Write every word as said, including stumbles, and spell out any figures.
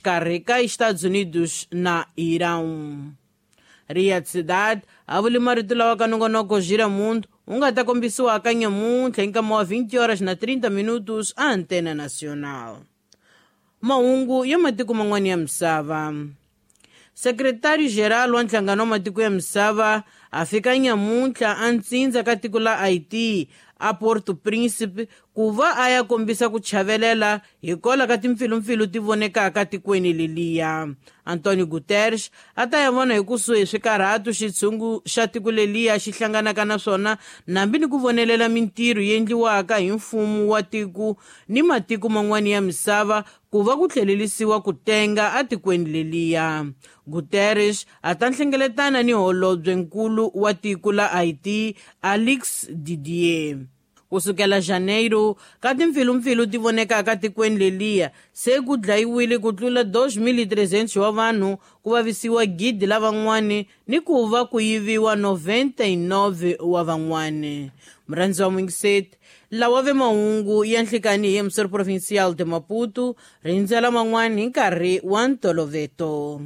Xikarhi ka Estados Unidos na Irão. Riyadh Cidade a vuli marito lawa ka nongonoko Gira Mundo wu nga ta kombisiwa ka nyamuntlha hi nkama wa vinte horas na trinta minutos a Antena Nacional. Mahungu ya matiko man'wana ya misava. Secretário-geral wa Nhlangano wa Matiko ya Misava a fika nyamuntlha a ntsindza ka tiko la Haiti a Porto Príncipe ku va a ya kombisa ku chavelela hikwalaho ka timpfilumpfilu ti vonekaka tikweni leliya. Antonio Guterres a ta ya vona hi kusuhi swikarhato xitshungu xa tiko leliya xi hlanganaka na swona nambi ni ku vonelela mintirho yi endliwaka hi mfumo wa tiko ni matiko man'wana ya misava ku va ku tlhelerisiwa ku tenga atikweni leliya. Guterres a ta nhlengeletana ni holobyenkulu wa tiko la Haiti Alix Didier. Kusukela Janeiro ka timpfilumpfilu ti vonekaka tikweni leliya se ku dlayiwile ku tlula dois mil e trezentos wa vanhu, ku vavisiwa gidi la van'wani ni ku va ku yiviwa noventa e nove wa van'wani. Murhandzi wa Mwingiseti, lawa ve mahungu ya nhlikani hi Emissor Provincial de Maputo, rindzela man'wani hi nkarhi wa ntoloveto.